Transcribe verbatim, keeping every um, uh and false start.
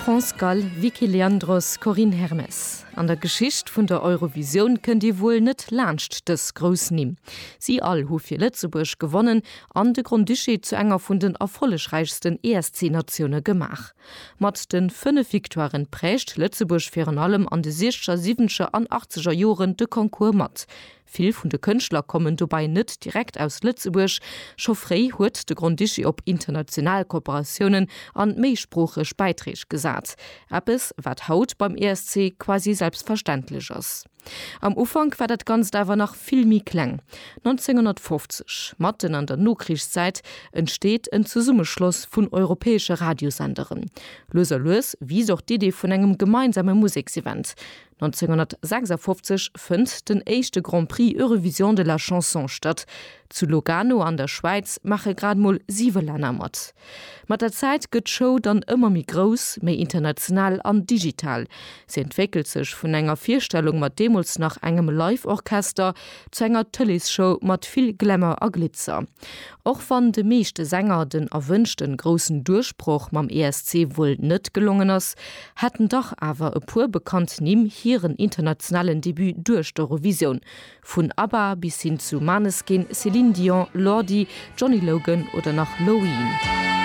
France Gall, Vicky Leandros, Corinne Hermès. An der Geschicht vun der Eurovisioun kënnt ee wuel net laanscht dës grouss Nimm. Si all hu fir Lëtzebuerg gewonnen an de Grand-Duché zu enger vun den erfollegräichsten ESC-Natioune gemaach. Mat de fënnef Victoiren prägt Lëtzebuerg virun allem an de siechzeger, siwwenzeger an achtzeger Joren de Concours mat. Vill vun de Kënschtler kommen dobäi net direkt aus Lëtzebuerg. Scho fréi huet de Grand-Duché op international Kooperatiounen an méisproocheg Bäiträg gesat. Eppes, wat haut beim ESC quasi selbstverständlech ass. Am Ufank war dat Ganzt awer nach vill méi kleng. nonzénghonnertfofzeg, matten an der Nokrichszäit, entsteet en Zesummeschloss vun europäesche Radiosenderen. Lues a lues wiisst och d'Idee vun engem gemeinsame Museksevent. nonzénghonnertsechsafofzeg fënnt den éischte Grand Prix Eurovision de la Chanson statt. Zu Lugano an der Schwäiz maache grad mol siwe Länner mat. Mat der Zäit gëtt d'Show dann ëmmer méi grouss, méi international an digital. Se entwéckelt sech vun enger Virstellung mat deemools nach engem Live-Orchester zu enger Tëleesshow mat vill Glamour a Glitzer. Och wann de meeschte Sänger den erwënschte groussen Duerchbroch mam E S C wuel net gelongen ass, haten dach awer e puer bekannt Nimm hiren internationalen Debut duerch d'Eurovisioun. Vun ABBA bis hin zu Maneskin, Céline Dion, Lordi, Johnny Logan oder nach Loreen.